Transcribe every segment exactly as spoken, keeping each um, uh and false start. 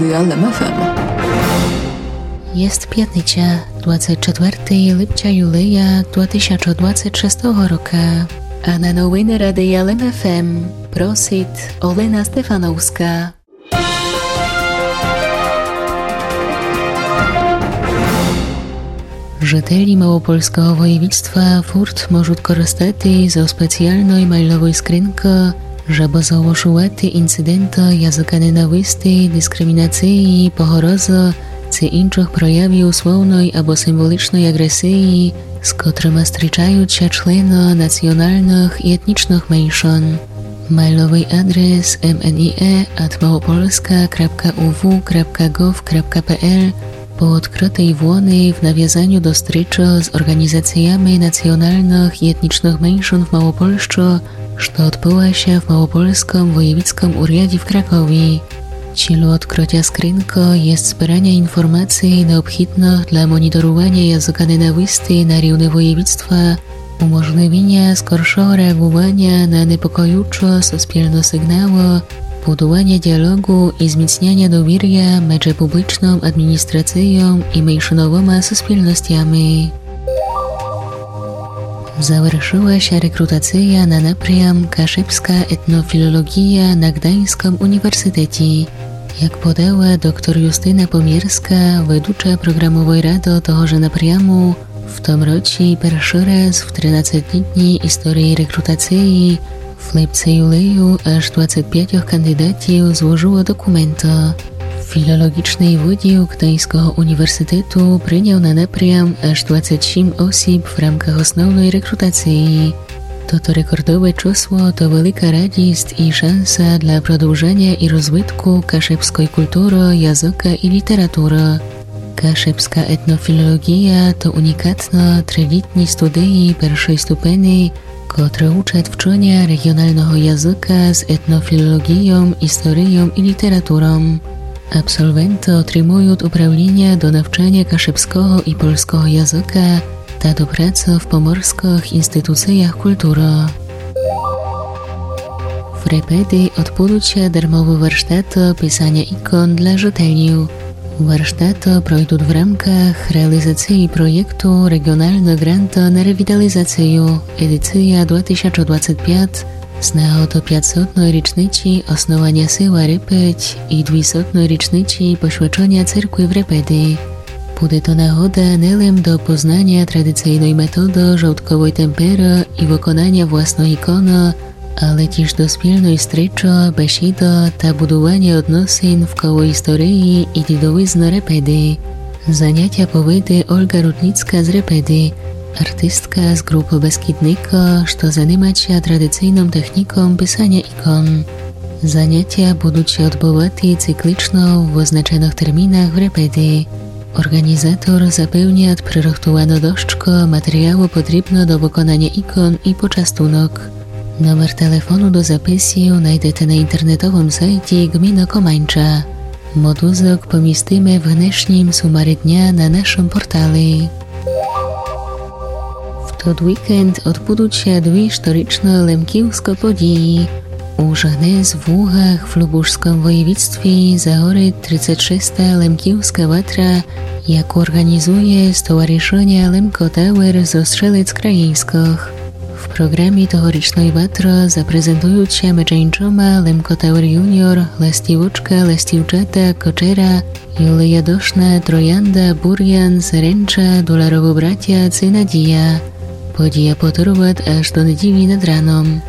Радия Лем ФМ. Єст пятниця, двадцет четвертого липця юлея два тисячы двадцет шестого рока. А на новины Радия Лем ФМ просит Олена Стефановска. Жителі Малопольского воєвідства фурт можут корыстати зо спеціалной майловой скринкы, жебы зголошувати інциденты языка ненависти, дискримінациі, погрозы ци іншых проявів словной або символичной аґресиі, з котрыма стрічають ся члены націоналных і етнічных меншын. Майловый адрес ем ен і е ат малопольска крапка у в крапка гов крапка пе ел по одкрытій вони в навязаню до стрічы з орґанізациями націоналных і етнічных меншын в Малопольщы, што одбыла ся в Малопольскым воєвідскым уряді в Кракові. Ціль одкрытя скринкы єст збераня інформациі необхідных для моніторуваня языка ненависти на рівни воєвідства, уможливіня скоршого реаґуваня на непокоючы суспільны сиґналы, будуваня діалоґу і зміцняня довіря меджі публічным адміністрацийом і меншыновыма суспільностями. Завершыла ся рекрутация на напрям Кашебска етнофілолоґія на Гданьскым універсітеті. Як подала доктор Юстина Помірска, ведуча програмовой рады того же напряму, в тым році першый раз в тринадцетилітній історії рекрутациі в липци-юлею аж двадцет пятьох кандидатів зложыло документы. Філолоґічный выділ Гданьского універсітету принял на напрям аж двадцет сім осіб в рамках основной рекрутациі. Тото рекордове чысло то велика радіст і шанса для продовжаня і розвитку кашебской культуры, языка і літературы. Кашебска етнофілолоґія то унікатны трилітні студії першой ступени, котры учат вчыня реґіоналного языка з етнофілолоґійом, історійом і літературом. Абсолвенты отримуют управліня до навчаня кашебского і польского языка та до працы в поморскых інституциях культуры. В Репеди одбудут ся дармовы варштаты писаня ікон для жителів. Варштаты пройдут в рамках реалізациі проєкту Реґіоналны ґрант на ревіталізацию, едиция два тисячы двадцет пять, з нагоды пятьсотной річниці основаня села Репедь і двісотной річниці посвячыня церкви в Репеди. Буде то нагода не лем до познаня традицийной методы жовтковой темперы і выконаня власной іконы, але тіж до спільной стрічы, бесіды та будуваня односин вколо історії і дідовизны Репеди. Занятя поведе Ольга Рудніцка з Репеди, артистка з ґрупы Бескідника, што занимат ся традицийным техніком писаня ікон. Занятя будут ся одбывати циклічно в вызначеных термінах в Репеди. Орґанізатор запевнят прирыхтувану дошку матеріалу потрібну до выконаня ікон і почастунок. Номер телефону до записів найдете на інтернетовым сайті Ґміны Команча. Мотузок помістиме в гнешнім сумарі дня на нашым порталі. В тот вікенд одбудут ся дві шторічны лемківскы події. Уж гнес в Лугах в Любушскым воєвідстві загорит тридцет шеста Лемківска ватра, яку орґанізує Стоваришыня Лемко Тауер зо Стрелец Країньскых. В програмі тогорічной ватры запрезентуют ся меджі іншыма Лемко Тауер Юніор, Ластівочка, Ластівчата, Кочера, Юлія Дошна, Троянда, Бурян, Серенча, Доларовы братя ци Надія. Подія потырват аж до неділі над раном.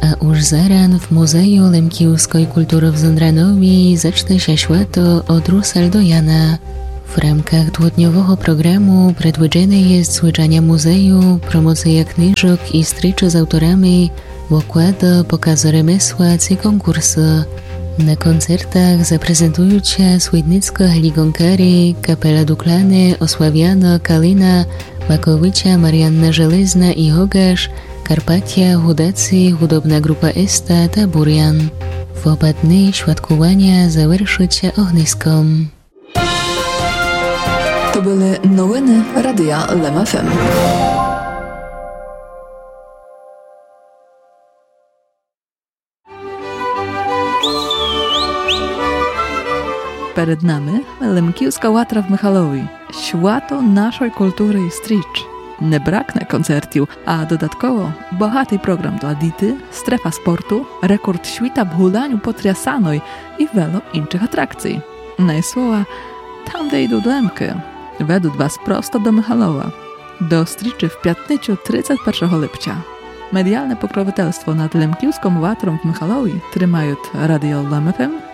А уж заран в Музею лемківской культуры в Зондранові зачне ся свято од Русаль до Яна. В рамках дводньового програму предвидзене єст звычаня музею, промоция книжок і стрічы з авторами, выклады, показы ремесла ци конкурсы. На концертах запрезентуют ся Свідницкы Глі Гонкарі, капела Дуклане, Ославяна, Калина, Маковиця, Маріанна Железна і Гогаш, Карпатя, Гудаци, гудобна ґрупа Еста та Бурян. В оба дни святкуваня завершыт ся огниском. То были новины Радия Лем ФМ. Перед нами Лемківска ватра в Михалові, свято нашой културы і стріч. Не бракне концертів, а додатково богатый програм для діти, стрефа спорту, рекорд світа в гуляню по Трясаной і вело іншых атракцій. Най слова, там, де йдуть Лемкы, ведуть вас просто до Михалова. До стрічы в пятницю, тридцять першого липця. Медіалне покровительство над Лемківском ватром в Михалові тримають Радіо Лем ФМ